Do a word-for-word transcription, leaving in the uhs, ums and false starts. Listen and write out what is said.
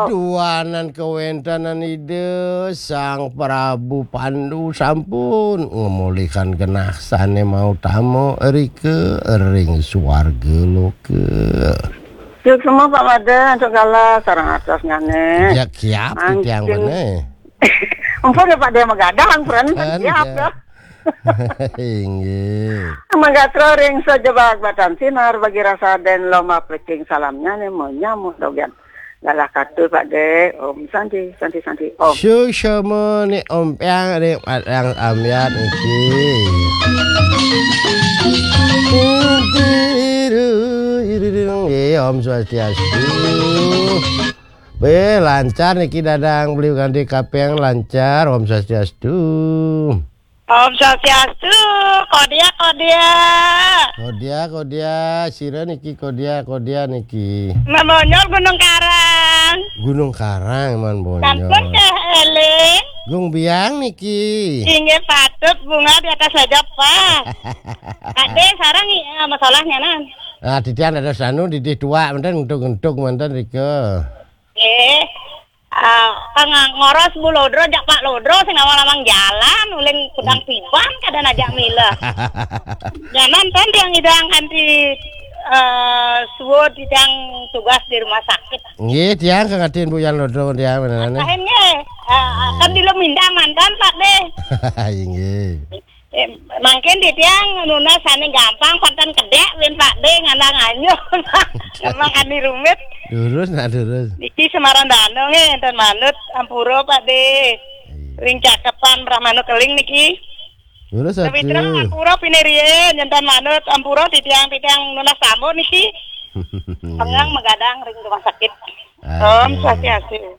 Duanan kawéntenan Ida Sang Prabu Pandu sampun ngamolihang genah sané mautama rika ring suarga loka. Suksma Pak Madé, antuk galah sareng atos nyané. Ya, kiap. Mangkin titiang bené. Ampun ya Pak Dé, magadang, pren, kan, kiap ya. Inggih. Magatra ring sajebag batan sinar bagi rasa den lomba plecing salamnya nih mau nyamuk dogian. Galah katu Pak Dé. Om Santi, Santi, Santi. Om. Suksma nih Om Piang ring Padang Ambyat niki. Nggih, Om Swastiastu. Bé, lancar niki dadang beli kanti kaping lancar. Om Swastiastu. Om Swastiastu, Kodia, Kodia. Kodia, Kodia, sira niki Kodia, Kodia niki. Mabonyol Gunung Karang. Gunung Karang, man bonyol. Sampun teh eling. Gung Biang niki. Inggih patut bunga di atas meja, Pak. Ade sarang iya masalahnya nan. Nah, titian ada sanu didih tuak, manten ngentuk-ngentuk, manten rika. Eh, ah, kang ngoros Bu Lodro, jak Pak Lodro, sing awal amang jalan, uling kudang tiban, kada najak mila. Nyanan kan tiang idang kanti, eh, suud tiang tugas di rumah sakit. Nggih, tiang kangatin Bu Yan Lodro, tiang beneran. Lain nggih, eh, kan di Lumindang mantan, Pak, deh. Inggih. Eh, mangkin titiang nunas ane gampang, pantan kedek, win Pak De, ngandang anyuh. Emang ani rumit. Durus, nak durus. Niki Semarang Dano nggih, enten manut, ampura Pak De. Iya. Ring cakepan Brahmana Keling niki. Durus. Tapi terang ampura pinirian, enten manut, ampura titiang-titiang nunas tamu niki. Pengang magadang ring rumah sakit. Ah, Om iya. Swastiastu.